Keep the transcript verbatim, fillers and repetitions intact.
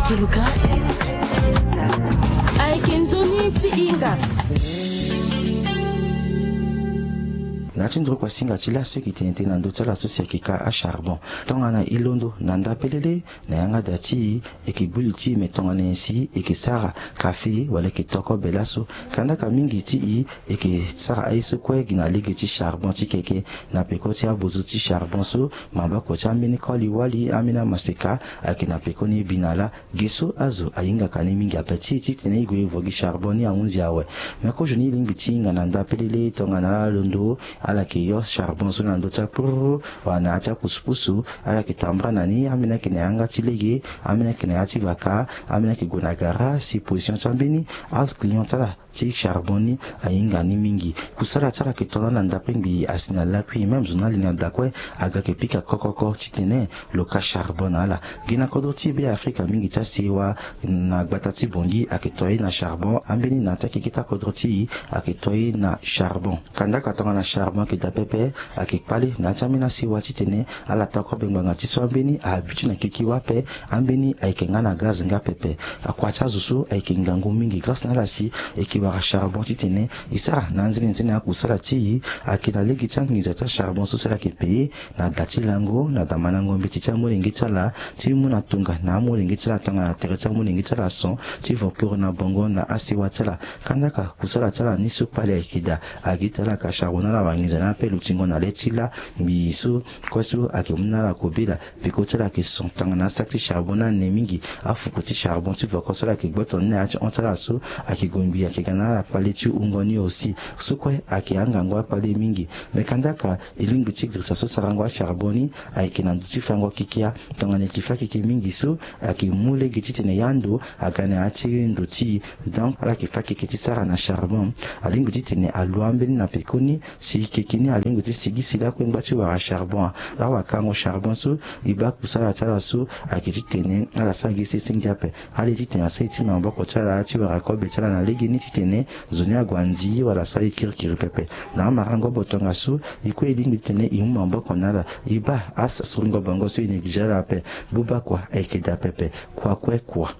Kiluka. Ayeke nzoni ti hinga. Na ya ti nduru kuasinga ti laso e yeke tene tënë na ndö ti ala so si ayeke ka acharbon. Tongana e londo na nda pelele na yanga da ti e, e yeke gbu li ti e me tongana nyen si e yeke sara kafe wala e yeke to kobe laso. Kandaka mingi ti e e yeke sara aye so kue gi na lege ti charbon ti keke. Na peko ti abozo ti charbon so, maboko ti ambeni koli wali, ambeni amaseka ayeke na pekoni bi na laa. Ge so azo ahingaka ni mingi ape ti e titene e gue e vo gi charbon ni ahunzi awe. Me kozo ni e lingbi ti hinga na nda pelele tongana ala londo, ala yeke yo charbon so na ndö ti apururu wala na ya ti apusupusu. Ala yeke tambula na ni, ambeni ayeke na yanga ti lege, ambeni ayeke na ya ti vaka, ambeni ayeke gue na gara si position ti ambeni aclient ti ala ti charbon ni ahinga ni mingi. Kusala ti ala ayeke to na ala ndapre ngbii asi na lakui, même zo ni ali na da kue aga yeke pika kokoko titene lo ka charbon na ala. Gi na kodro ti Beafrika mingi ti asewa na gbata ti Bangui ayeke to ye na charbon. Ambeni na ya ti akeke ti akodro ti e ayeke to ye na charbon. Kandaka tongana charbon ayeke daa pepe, ayeke kpale na ya ti ambeni asewa titene ala to kobe ngbanga ti so ambeni ahabitué na keke wâ ape. Ambeni ayeke nga na gaz nga pepe. Akua ti azo so ayeke ngangu mingi grâce na ala si e yeke wara charbon titene e sara na anzenenzene akusala ti e. Ayeke na lege ti anginza ti acharbon so si ala yeke paye na da ti lango, na da malango mbeti ti amolenge ti ala, ti mu na tonga na amolenge ti ala tongana tere ti amolenge ti ala son ti voporo na bongo na asewa ti ala. Kandaka kusala ti ala ni so kpale ayeke daa. Agi ti ala ka charbon na ala wanginza ni ape lutingo na le ti laa ngbii so kue so ayeke mu na ala kobela. Peko ti ala yeke son tongana asaki ti charbon ni ane mingi. Afuku ti charbon ti voko so ala yeke gboto ni na ya ti hon ti ala so ayeke gue ngbii ayeke ga na ala kpale ti wungo ni aussi. So kue ayeke angangu akpale mingi. Me kandaka e lingbi ti girisa so sarango acharbon ni ayeke na ndö ti fango kekia. Tongana e yeke fâ keke mingi so ayeke mu lege titene e yä ndo aga na ya ti ndo ti e. Donc ala yeke fâ keke ti sara na charbon. Alingbi titene alu ambeni na pekoni si keke ni alingbi ti sigi si lakue ngba ti wara charbon. Awakango charbon so e baa kusala ti ala so ayeke titene ala sara gi sese ngia ape. Ale titene asara ye ti maboko ti ala ti wara kobe ti ala na legeni titene nzoni ague anzi wala asara ye kirikiri pepe. Na amarango bo tongaso e kue e lingbi titene e mu maboko na ala. E baa asurungo bongo so e néglige ala ape. Buba kua ayeke daa pepe. Kua kue kua.